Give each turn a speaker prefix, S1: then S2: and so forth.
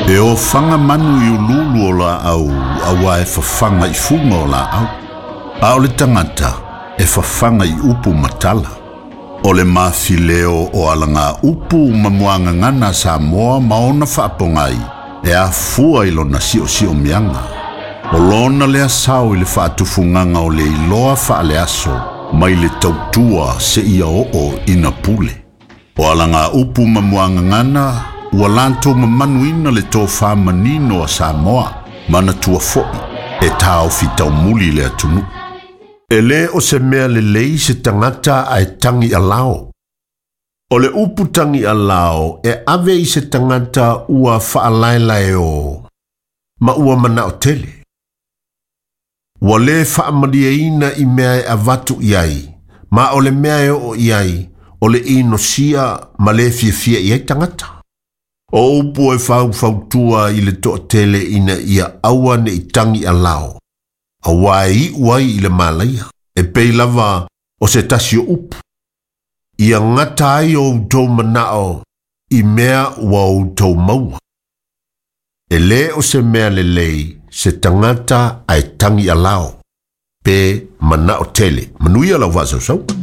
S1: E ofaga manu i uluulu o laau auā e fafaga i fuga o laau. A o le tagata e fafaga i upu ma tala. O le mafileo o alaga upu ma muagagana a Samoa ma ona faapogai e afua i lona siosiomiaga. O lona lea sao i le faatufugaga o le iloa faaleaso mai le tautua seia oo ina pule. O alaga upu ma muagagana ua latou mamanuina le tofā manino a Samoa, manatua foi e taofi taumuli le atunuu. E lē o se mea lelei se tagata ae tagi alao. O le upu tagi alao e ave i se tagata ua faalaelaeō ma ua manao tele. Ua lē faamalieina i mea e avatu i ai, ma o le mea e oo i ai, o le inosia ma lē fiafia i ai tagata. O upu e faufautua i le toatele ina ia aua ne i tagi alao, auā e iu ai i le malaia, e pei lava o se tasi o upu. Ia gata ai o outou manao i mea ua outou maua. E lē o se mea lelei se tagata ae tagi alao, pe manao tele. Manuia lau faasausauga.